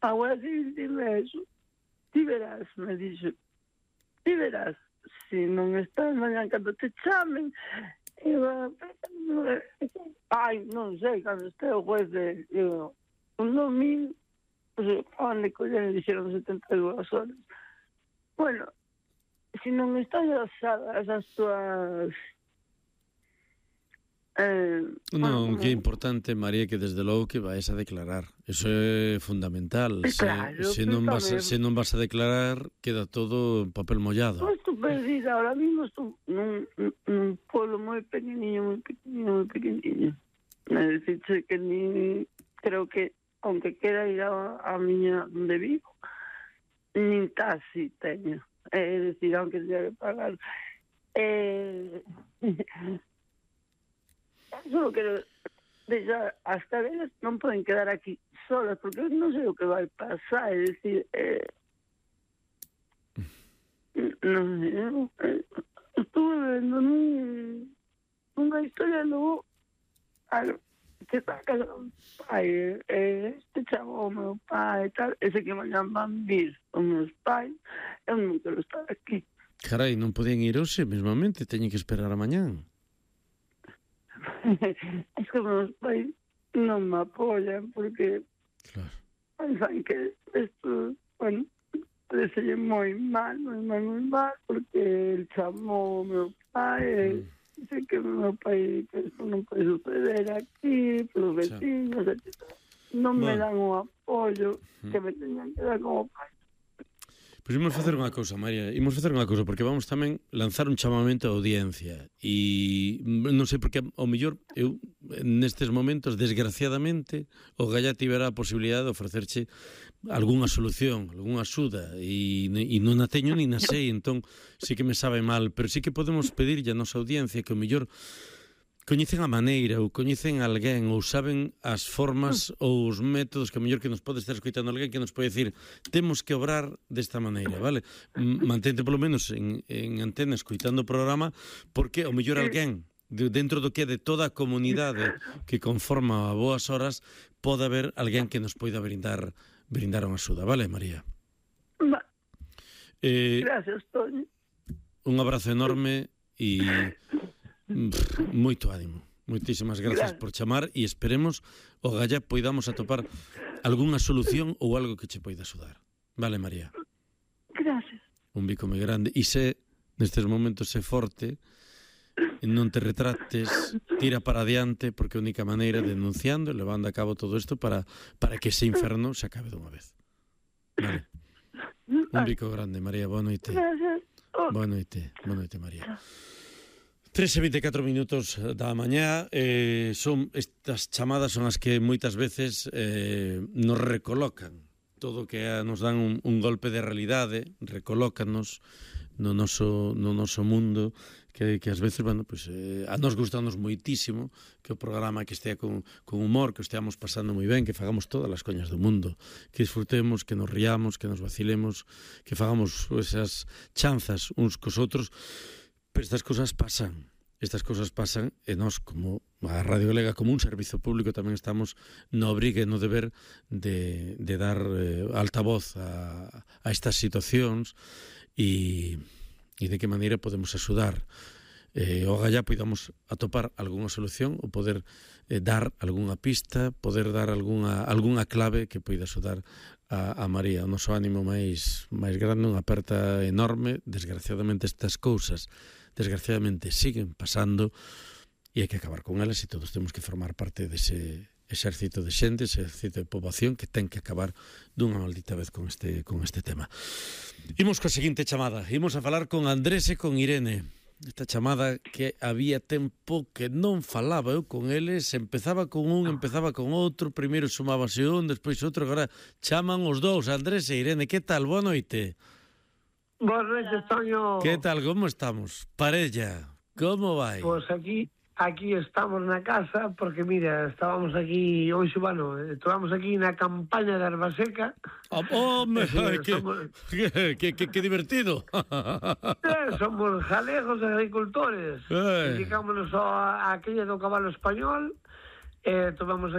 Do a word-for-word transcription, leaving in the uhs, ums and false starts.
agora sí, dime eso. Ti verás, me dixo, ti verás, se non estás mañan cando te chamen, e va, ai, non sei, cando este o juez de, digo, un domingo, pues, acaban de coller e dixeron setenta e dúas horas. Bueno, se non estás asadas as tuas... Eh, Non, bueno, que é importante, María, que desde logo que vais a declarar. Eso é fundamental. Claro, se, se, non vas a, tamén. se non vas a declarar, queda todo en papel mollado. Pois estou perdida, ahora mismo estou nun, nun pueblo moi pequeniño, moi pequeniño, moi pequeniño. É dicir, que ni, creo que, aunque quera ir a, a miña onde vivo, nin taxi teño. É dicir, aunque teña que pagar. Eh... Solo quero deixar as cadenas non poden quedar aquí solas porque non sei o que vai pasar, é dicir, eh, non sei, eh, estuve vendo nun, unha historia logo que está casado un pai, eh, este chavo o meu pai e tal, ese que mañan van vir os meus pais, eu non quero estar aquí. Carai, non podían ir hoxe mesmamente, teñen que esperar a mañán. Es que meus pais non me apoyan porque claro. pensan que isto, bueno, parece moi mal, moi mal, moi mal, porque el chamou o meu pai e dice que o meu pai que isto non pode suceder aquí, pelos vecinos, etcétera. Non me dan o apoio que me teñan que dar como pai. Pois imos facer unha cousa, María, imos facer unha cousa, porque vamos tamén lanzar un chamamento á audiencia e non sei porque ao mellor eu nestes momentos, desgraciadamente, o Gallá tiverá a posibilidade de ofrecerche algunha solución, algunha axuda e, e non a teño ni na sei, entón sí que me sabe mal, pero sí que podemos pedirlle a nosa audiencia que ao mellor coñecen a maneira ou coñecen a alguén ou saben as formas ou os métodos que a mellor que nos pode estar escoitando alguén que nos pode decir temos que obrar desta maneira, vale? Mantente polo menos en, en antena escoitando o programa porque ao mellor alguén dentro do que é de toda a comunidade que conforma a Boas Horas pode haber alguén que nos poida brindar brindar unha axuda, vale, María? Va. Eh, Gracias, Toño. Un abrazo enorme e moito ánimo. Moitísimas grazas por chamar e esperemos o Gallá poidamos atopar algunha solución ou algo que che poida axudar. Vale, María? Gracias. Un bico moi grande. E se nestes momentos se forte, non te retrates, tira para adiante, porque a única maneira denunciando e levando a cabo todo isto para, para que ese inferno se acabe dunha vez. Vale? Un bico grande, María. Boa noite. Gracias. Boa noite. Boa noite, María. tres e veinticuatro minutos da mañá, eh, son estas chamadas son as que moitas veces eh, nos recolocan todo o que é, nos dan un, un golpe de realidade, recolócanos no noso, no noso mundo que, que ás veces, bueno, pues, eh, a nos gustanos moitísimo que o programa que estea con, con humor, que o esteamos pasando moi ben, que fagamos todas as coñas do mundo, que disfrutemos, que nos riamos, que nos vacilemos, que fagamos esas chanzas uns cos outros. Pero estas cosas pasan, estas cosas pasan e nós como a Radio Galega, como un servizo público tamén estamos no obrigue, no deber de, de dar eh, altavoz a, a estas situacións e, e de que maneira podemos axudar eh, o Gallá podamos atopar algunha solución ou poder eh, dar algunha pista, poder dar algunha, algunha clave que poida axudar a, a María. O noso ánimo máis, máis grande, unha aperta enorme. Desgraciadamente estas cousas desgraciadamente siguen pasando e hai que acabar con elas e todos temos que formar parte dese exército de xente, ese exército de poboación que ten que acabar dunha maldita vez con este, con este tema. Imos coa seguinte chamada, imos a falar con Andrés e con Irene. Esta chamada que había tempo que non falaba eu con eles, empezaba con un, empezaba con outro, primeiro sumábase un, despois outro, agora chaman os dous, Andrés e Irene. Que tal? Boa noite. Boas noites, Toño. Que tal, como estamos? Parella, como vai? Pois pues aquí aquí estamos na casa, porque mira, estábamos aquí, hoxe, bueno, estábamos aquí na campaña de Arbaseca. Oh, oh me, eh, que, somos, que, que, que, que divertido. eh, somos galegos agricultores. Eh. Dedicámonos a, a aquella do cabalo español, eh, tomamos